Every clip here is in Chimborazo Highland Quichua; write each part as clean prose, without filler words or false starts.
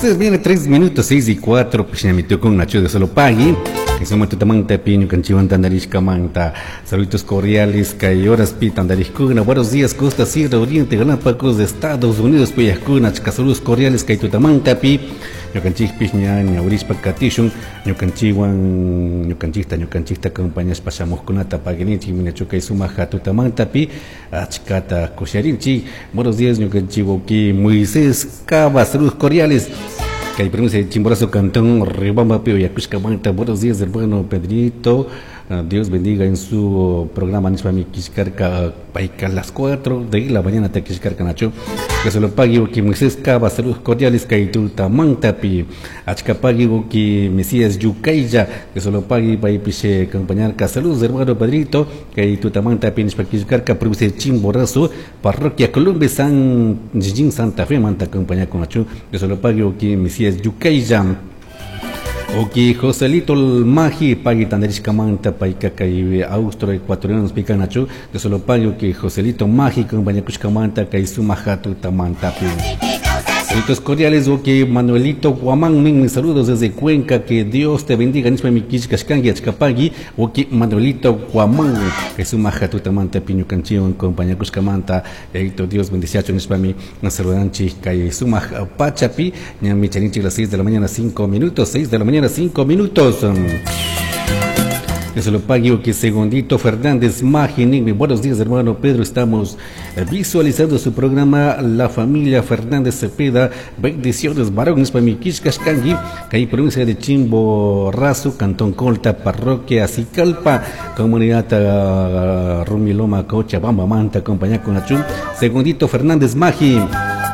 Las viene 3 minutos, 6 y 4, pishnamitukun Nacho de solo pagui. Suma tutamanta pi ñukanchiwan tandarishkamanta. Saludos cordiales, kay horas pi tandarishkuna. Buenos días, Costa Sierra Oriente, Galápagos de Estados Unidos, puyajkuna, achka saludos cordiales kay tutamanta pi. Ñukanchikpis ña ñawrishpa katishun, ñukanchiwan, ñukanchikta, ñukanchikta acompañashpa shamuqkunata paguininchik, minachu kay sumaq tutamanta pi, achkata kusharinchik. Buenos días, ñukanchik wawki Moisés Cava, saludos cordiales. Kay provincia de Chimborazo, Cantón, Riobamba, Pío, Yacushcamanta. Buenos días, hermano Pedrito. Dios bendiga en su programa Nishpa mi Kishkarka, Paika, las 4 de la mañana, te Kishkarka, Nacho. Que se lo pague, que Moisés Cava, saludos cordiales, Kaituta, Mantapi, Achkapagui, que Mesías Yucaya, que se lo pague, Paipiche, acompañarca. Saludos, hermano Pedrito, Kaituta, Mantapi, Nishpa Kishkarka, provincia de Chimborazo, Parroquia Colombia, San Gijin, Santa Fe, Manta, acompañar con Nacho. Que se lo pague, que Mesías Yucaya. Oki Joselito Maji, pagui tandarishkamanta, paika kay austro ecuatorianos picanachu, de solo pago que Joselito Maji, compañakushkamanta, kay sumajatu tamantapi. Saludos cordiales, ok, Manuelito Guamán, mis saludos desde Cuenca, que Dios te bendiga, nispa mi kishkashkangi, achkapagui, ok, Manuelito Guamán, que sumajatu tamanta, piñukanchiwan, compañakushkamanta, eito Dios bendiciacho, nispa mi saludanchi, kay sumaj pachapi, ñami charinchi las 6 de la mañana, 5 minutos, 6 de la mañana, 5 minutos. Que se lo pague, que Segundito Fernández Magini. Buenos días, hermano Pedro. Estamos visualizando su programa La Familia Fernández Cepeda. Bendiciones, varones, para mi Kishkashkangi, que hay provincia de Chimborazo, Cantón Colta, Parroquia Sicalpa, Comunidad Rumiloma, Cochabamba, Manta, compañía con Achum. Segundito Fernández Magi.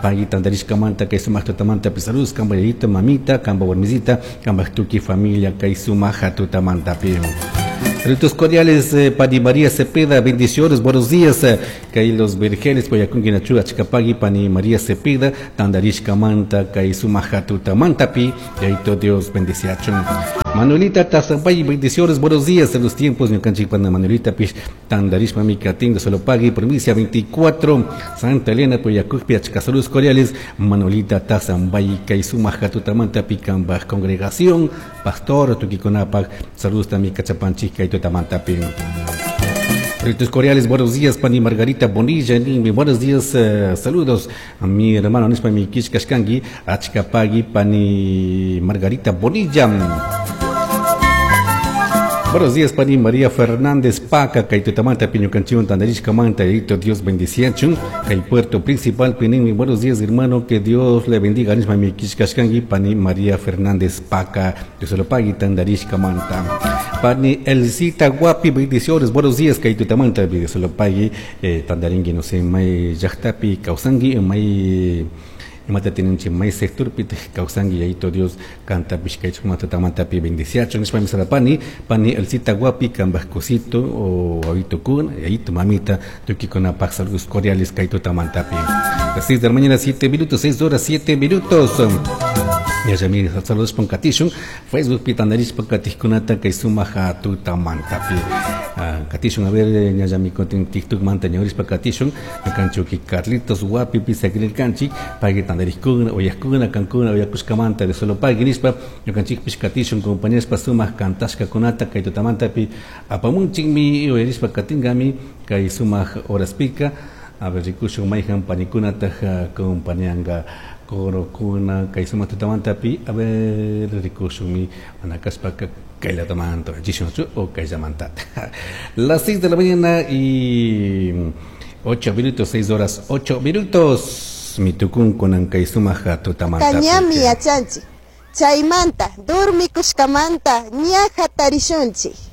Paguita Andarishka Manta, Kaisuma Tutamanta, Pisaluz, Kamba Yayita, Mamita, Kamba Warmisita, Kamba Tuki, Familia, Kaisuma Tutamanta, Pi. Saludos cordiales, Pani María Cepeda, bendiciones, buenos días. Kay los Vergeles, Poyacunqui, Nachu, Achcapagui, Pani María Cepeda, Tandarishka Manta, Kaisuma Tutamanta, Pi, y ahí todo Dios bendiciacho. Manuelita Tazapay, bendiciones, buenos días. En los tiempos, ñukanchik pana Manuelita, Pish, Tandarishma, Micatín, de Solopagui, provincia 24, Santa Elena, Poyacunqui, Achca, saludos cordiales. Manuelita Tazambay, Kaisuma Tutamanta, Pi, Kamba, congregación, pastor, Tuquiconapac, saludos también, Cachapanchi, Kaito Tamantapi. Saludos cordiales, buenos días, Pani Margarita Bonilla, Nimi, buenos días, saludos a mi hermano Nispa mi Kishkashkangi, Achkapagui, Pani Margarita Bonilla. Buenos días, Pani María Fernández Paca, Kaitutamanta, Piñucanchión, Tandarishkamanta, Edito, Dios bendiciachun, Kay Puerto Principal, Pinimi, buenos días, hermano, que Dios le bendiga, Nisma mi Kishkashkangi, Pani María Fernández Paca, Dios se lo pague, Tandarishkamanta. Pani Elcita Guapi, bendiciones, buenos días, Kaitutamanta, Dios se lo pague, Tandaringui, no sé, May Yachtapi, Kausangui, May imata tininchi may sector pi kawsanki yayito Dios kanta pishkaychuk mata pi bendiciacho nishpa misala pani pani Elcita Guapi kambaj cosito o wawito kun yayito mamita tukikunapak saludos cordiales kay tutamantapi. Las 6 de la mañana 7 minutos, 6 horas 7 minutos. Ya ya mi saludos ponkatishun Facebook pi tandarishpa katijkunata kay sumaja tutamantapi. Katishun, a ver, ya ya mi kontin TikTok manta ñawrishpa katishun, ñukanchuki Carlitos Guapi pi sakrirkanchik, pagui tandarishkuna, oyaskuna, kankuna, oyakushkamanta de solo pagui nishpa, ñukanchikpish katishun, compañerispa sumaq kantashkakunata kay tutamantapi apamunchikmi uyarishpa katingami kay sumaq horaspika. A ver, rikushun mayhan panikunataq acompañanga corokuna kay sumaq tutamantapi, a ver, rikushunmi manakashpaka kaylatamanta, chishunchu o kayllamantata. Las 6 de la mañana y 8 minutos, 6 horas 8 minutos. Mitukun kunan kay sumaq tutamanta. Tañami yachanchik, chaymanta, durmikushkamanta, ña hatarishunchik.